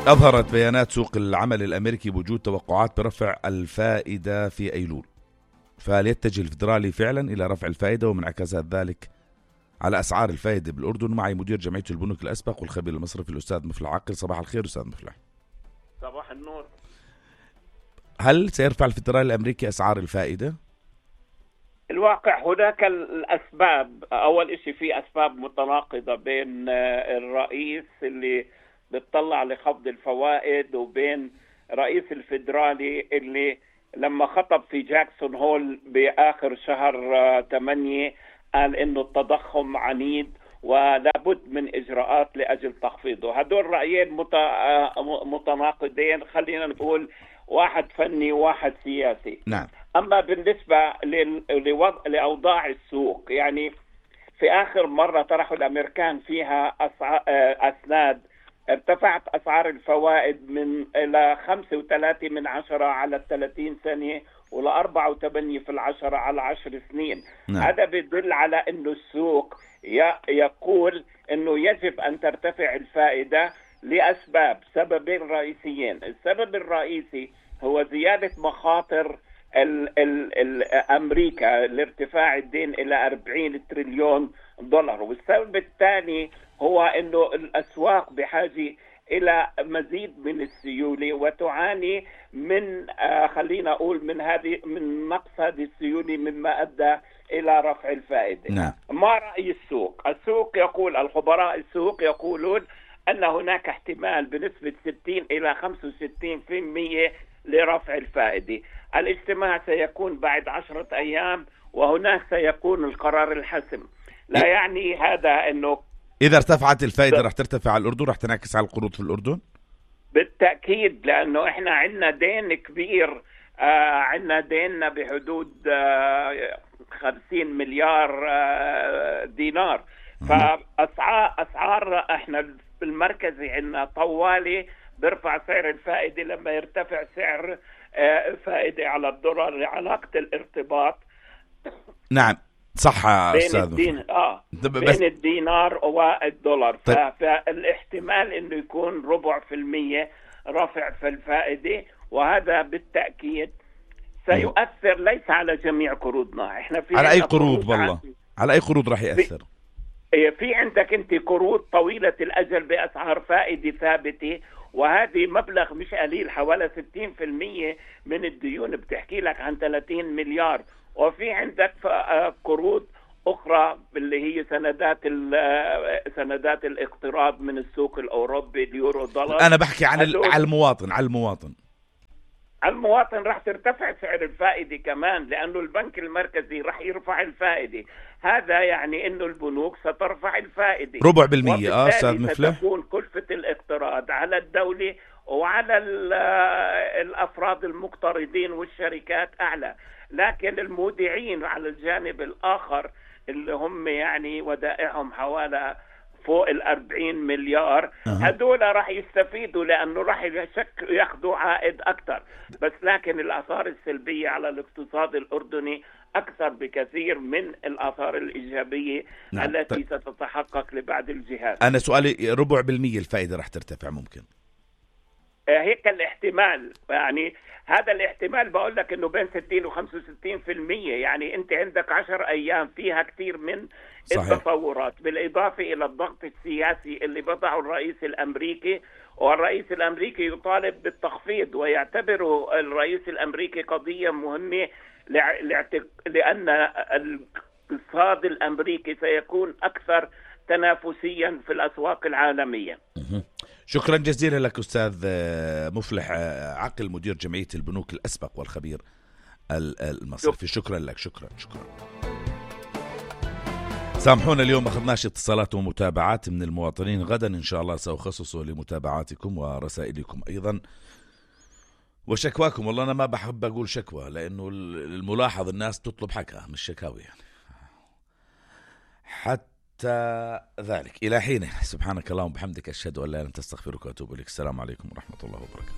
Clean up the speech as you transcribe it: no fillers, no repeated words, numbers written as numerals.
أظهرت بيانات سوق العمل الأمريكي بوجود توقعات برفع الفائدة في أيلول، فهل يتجه الفدرالي فعلا إلى رفع الفائدة ومنعكسات ذلك على أسعار الفائدة بالأردن؟ معي مدير جمعية البنوك الأسبق والخبير المصرفي الأستاذ مفلح عقل. صباح الخير أستاذ مفلح. صباح النور. هل سيرفع الفدرالي الأمريكي أسعار الفائدة؟ الواقع هناك الأسباب. أول إشي في أسباب متناقضة بين الرئيس اللي بتطلع لخفض الفوائد وبين رئيس الفدرالي اللي لما خطب في جاكسون هول بآخر شهر 8 قال إنه التضخم عنيد ولابد من إجراءات لأجل تخفيضه. هدول رأيين متناقضين، خلينا نقول واحد فني وواحد سياسي. نعم. أما بالنسبة لأوضاع السوق، يعني في آخر مرة طرحوا الأمريكان فيها أسناد ارتفعت أسعار الفوائد من إلى 5.3 على 30 سنة ولا 4.8 على 10 سنين. نعم. هذا بيدل على أنه السوق يقول أنه يجب أن ترتفع الفائدة لأسباب، سببين رئيسيين. السبب الرئيسي هو زيادة مخاطر أمريكا لارتفاع الدين إلى 40 تريليون دولار، والسبب الثاني هو أنه الأسواق بحاجة إلى مزيد من السيولة وتعاني من خلينا أقول من نقص هذه السيولة مما أدى إلى رفع الفائدة. نعم. ما رأي السوق؟ السوق يقول، الخبراء السوق يقولون أن هناك احتمال بنسبة 60 إلى 65% لرفع الفائدة. الاجتماع سيكون بعد 10 أيام وهناك سيكون القرار الحسم. لا يعني هذا أنه إذا ارتفعت الفائدة رح ترتفع على الأردن، رح تنعكس على القروض في الأردن؟ بالتأكيد، لأنه إحنا عندنا دين كبير. عندنا ديننا بحدود 50 مليار دينار. فأسعار إحنا بالمركزي عندنا طوالي برفع سعر الفائدة لما يرتفع سعر فائدة على الدولار، علاقة الارتباط. نعم صح أستاذ. بين الدينار والدولار. فالاحتمال انه يكون 4% رفع في الفائدة، وهذا بالتأكيد سيؤثر ليس على جميع قروضنا. احنا في على اي قروض والله؟ على اي قروض راح يأثر؟ في عندك انت قروض طويلة الأجل بأسعار فائدة ثابتة، وهذه مبلغ مش قليل، حوالي 60% من الديون بتحكي لك عن 30 مليار. وفي عندك قروض أخرى اللي هي سندات الاقتراض من السوق الأوروبي، اليورو دولار. أنا بحكي عن المواطن. راح ترتفع سعر الفائدة كمان، لأنه البنك المركزي راح يرفع الفائدة. هذا يعني إنه البنوك سترفع الفائدة 4%. أستاذ مفلح، ستكون كلفة الاقتراض على الدولة وعلى الأفراد المقترضين والشركات أعلى. لكن المودعين على الجانب الآخر اللي هم يعني ودائعهم حوالي فوق 40 مليار، هدول راح يستفيدوا لأنه راح ياخذوا عائد أكثر. بس لكن الآثار السلبية على الاقتصاد الأردني أكثر بكثير من الآثار الإيجابية. نعم. التي ستتحقق لبعض الجهات. أنا سؤالي 4% الفائدة راح ترتفع ممكن؟ هيك الاحتمال، يعني هذا الاحتمال بقول لك انه بين 60 و65%. يعني انت عندك 10 ايام فيها كثير من التطورات، بالاضافه الى الضغط السياسي اللي وضعه الرئيس الامريكي. والرئيس الامريكي يطالب بالتخفيض، ويعتبره الرئيس الامريكي قضيه مهمه لان الاقتصاد الامريكي سيكون اكثر تنافسيا في الاسواق العالميه. شكرا جزيلا لك أستاذ مفلح عقل، مدير جمعية البنوك الأسبق والخبير المصرفي. شكرا لك. شكرا. سامحونا اليوم أخذناش اتصالات ومتابعات من المواطنين، غدا إن شاء الله سأخصصه لمتابعاتكم ورسائلكم أيضا وشكواكم. والله أنا ما بحب أقول شكوى، لأنه الملاحظ الناس تطلب حكا مش شكاوي يعني. حتى ذلك إلى حين، سبحانك اللهم وبحمدك، أشهد أن لا إله إلا أنت، أستغفرك وأتوب إليك. السلام عليكم ورحمة الله وبركاته.